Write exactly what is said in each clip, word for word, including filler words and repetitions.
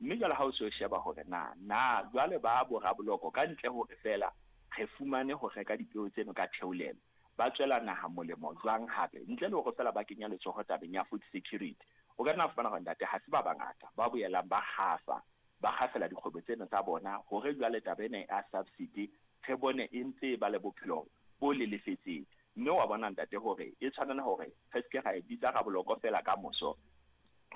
Mme jwale ha o se o sheba hore na na jwale ba boraboloko ka ntle hore feela re fumane ho reka dipeo tseno ka theolelo, ba tswela naha molemo jwang hape ntle le hore feela ba kenya letsoho tabeng ya food security. O ka nna fumana hore ntate ha se ba bangata ba boelang ba kgafa, ba kgafela dikgwebo tsena tsa bona hore jwale taba ena ya subsidy re bone e ntse ba le bophelo bo lelefetseng. Mme wa bona ntate hore e tshwanela hore re seke ra e bitsa raboloko feela ka moso,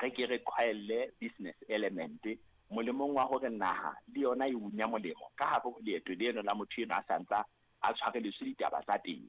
re ke re qhwaelle business element molemong wa hore naha le yona e unya molemo ka hare ho leeto leno la motho eno a santsa a tshwareletswe ditaba tsa teng.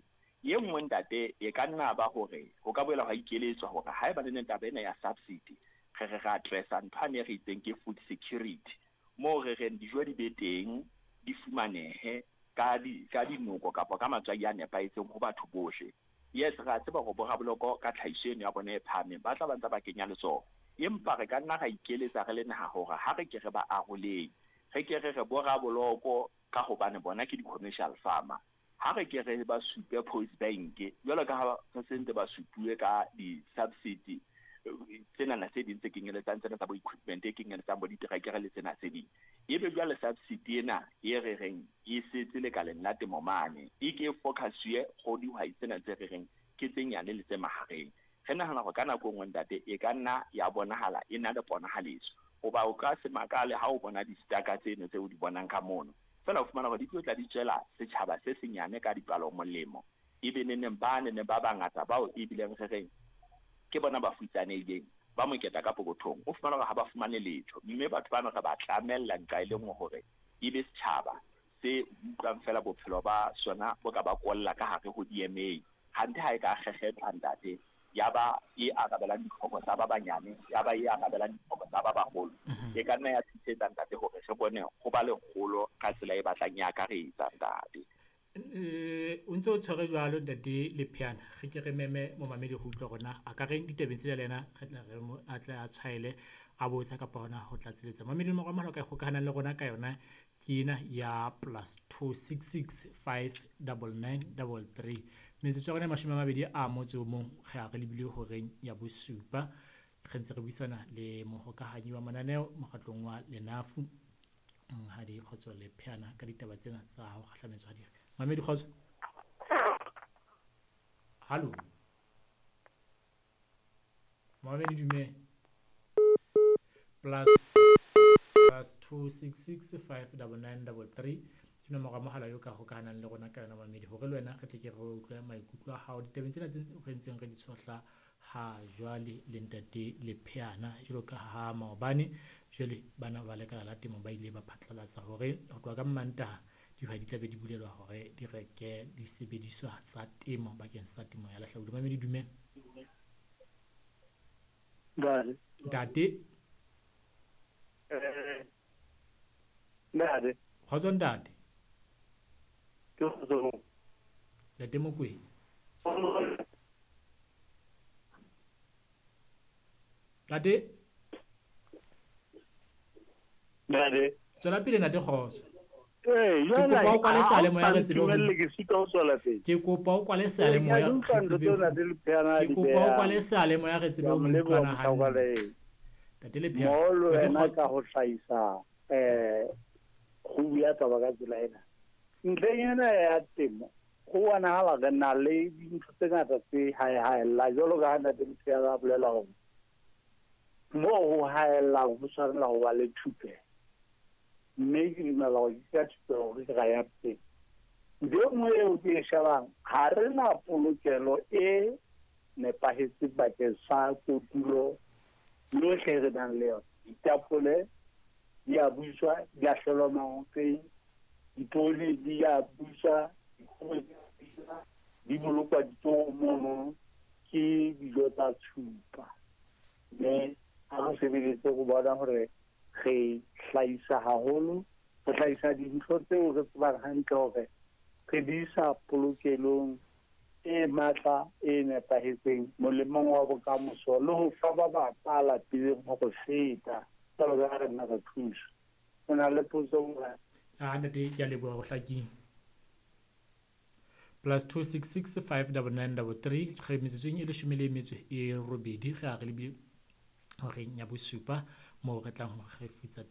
E nngwe ntate e ka nna ba hore ho ka boela hwa ikeletswa hore haeba le neng taba ena ya subsidy re re re addressa ntho ane re itseng ke food security, moo re reng dijo di be teng, di fumanehe ka di ka dinoko kapa ka matswai a nepahetseng ho batho bohle. Yes, re a tseba hore boraboloko ka tlhahiso eno ya bona e phahameng ba tla ba ntse ba kenya letsoho, empa re ka nna ra ikeletsa re le naha hore ha re ke re ba aroleng, re ke re re boraboloko ka hobane bona ke di-commercial farmer, ha re ke re ba supe Post Bank jwalo ka ha re sentse ba supuwe ka di-subsidy tsenana tse ding tse kenyeletsang tsena tsa bo equipment e kenyeletsang bo diterekere le tsena tse ding. Ebe jwale subsidy ena e re reng e setse lekaleng la temo mane, e ke focus-uwe ho dihwai tsena tse re reng ke tse nyane le tse mahareng. Re nahana hore ka nako e nngwe ntate e ka nna ya bonahala e na le ponahaletso, hoba o ka se makale ha o bona di-staka tseno tseo o di bonang ka mono, feela o fumana hore di tlo tla di tswela setjhaba se senyane ka dipalo molemo, ebe neneng ba neneng ba bangata bao ebileng re reng ke bona ba futsanehileng ba moketa ka pokothong, o fumana hore ha ba fumane letho. Mme batho bano re ba tlamella nqa e le nngwe hore ebe setjhaba se utlwang feela bophelo ba sona bo ka ba kolla ka hare ho D M A, hante ha e ka kgekgethwa ntate ya ba e arabelang ditlhoko tsa ba banyane, ya ba e arabelang ditlhoko tsa ba baholo, e ka nna ya thusetsa ntate hore re bone ho ba le kgolo ka tsela e batlang e akaretsa ntate. Eh, o ntse o tshwere jwalo ntate Lepheana, re ke re meme momamedi go utlwa rona a ka reng ditabeng tsena le yena, re tla re mo a tle a tshwaele a botsa kapa hona ho tlatseletsa. Mamedi nomoro ya mohala o ka ikgokahanang le rona ka yona ke ena ya plus two six six five double nine double three. Metsotso ya rona e mashome a mabedi a motso o mong re a re lebile horeng ya bosupa. Re ntse re buisana le mohokahanyi wa mananeo mokgatlong wa Lenafu Monghadi Kgotso Lepheana ka ditaba tsena tsa ho kgahlametswa ha di. Mamedi Kgotso. Hallo. Mamedi dumela. Plus plus two six six five double nine double three ke nomoro ya mohala eo ka hokahanang le rona ka yona mamedi, hore le wena re tle ke re utlwe maikutlo a hao ditabeng tsena tse re ntseng re di tshohla ha jwale le ntate Lepheana. Jwalo ka ha maobane jwale bana ba lekala la temo ba ile ba phatlalatsa hore ho tloha ka Mmantaha dihwai di tla be di bulelwa hore di reke disebediswa tsa temo bakeng sa temo ya lehlabula. Mamedi dumela. Ntate. Ntate. Eh, ntate. Kgotso ntate. Ke kgotso. Ntate Mokwena. Ntate. Ntate. Tswela pele ntate Kgotso. Eh, Ke kopa o kwale seyalemoya re tsebe ho Dumelle ke sitwa ho tswela pele. Ke kopa o kwale seyalemoya Ke re tsebe ho utlwa ntate Lepheana Ke di kopa o beha. kwale seyalemoya re tsebe ho Ke a mo leboha utlwana hantle. mohlakwa Ntate Lepheana, Molo Ntate wena Kgotso. ka ho hlahisa, eh, ho bua taba ka tsela ena. Ntlheng ena ya temo, ho bonahala re na le dintho tse ngata tse haehaellang, jwalo ka ha ntate Lepheana a bolela hore moo ho haellang ho tshwanela ho ba le thupelo. Mme ke dumela hore ke ka thupelo hore ke ra ya pele. Ntho e nngwe eo ke e shebang, ha re na polokelo e nepahetseng bakeng sa kotulo yohle re nang le yona. Ditapole di a buswa, di a hlolwa maoteng, dipoone di a buswa, dikgoho di a buswa, di bolokwa ditorong mono, ke dijo tsa tshupa. Mme ha re sebeletse go bona hore re hlahisa haholo, re hlahisa dintho tseo re tsebang hantle hore re di isa polokelong e matla e nepahetseng molemong wa bokamoso le ho fa ba bang ba lapileng ho re feta jwalo ka ha re nna re thusa. O na le potso morena? Ah, ntate, ke a leboha ho hlakile. Plus two six six five double nine double three re metsotsong e leshome le metso e robedi re a re lebile horeng ya bosupa moo re tlang ho re futsa